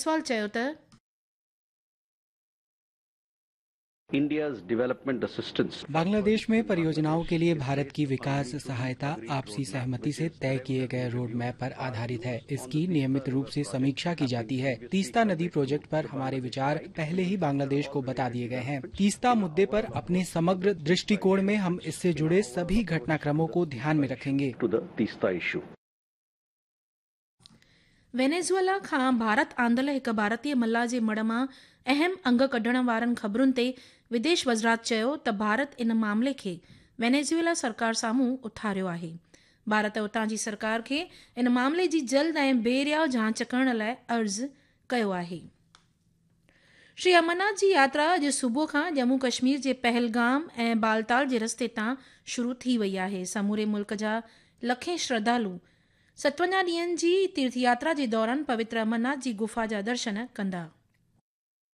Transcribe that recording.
جئسوال چيو ته. India's development assistance. Bangladesh में परियोजनाओं के लिए भारत की विकास सहायता आपसी सहमति से तय किए गए रोड मैप पर आधारित है। इसकी नियमित रूप से समीक्षा की जाती है। तीस्ता नदी प्रोजेक्ट पर हमारे विचार पहले ही बांग्लादेश को बता दिए गए हैं। तीस्ता मुद्दे पर अपने समग्र दृष्टिकोण में हम इससे जुड़े सभी घटनाक्रमों को ध्यान में रखेंगे। To the Teesta issue. Venezuela खां भारत आंदल हिकु भारतीय मल्लाह जे मढ़ मां अहम अंग कढण वारनि ख़बरुनि ते विदेश वज़ारत चयो त भारत इन मामले खे वेनेज़ुएला सरकार साम्हूं उथारियो आहे। भारत उतां जी सरकार खे इन मामले जी जल्द ऐं बेरिया जांच करण लाइ अर्ज़ कयो आहे। श्री अमरनाथ जी यात्रा अॼु सुबुह खां ڄمون ڪشمير جي پهلگام ۽ بالتال جي رستي تان شروع ٿي وئي آهي. سموري ملڪ جا لکين شرڌالو 57 ڏينهن جي تيرٿ ياترا جي دوران پوتر امرناٿ جي گفا جا درشن ڪندا.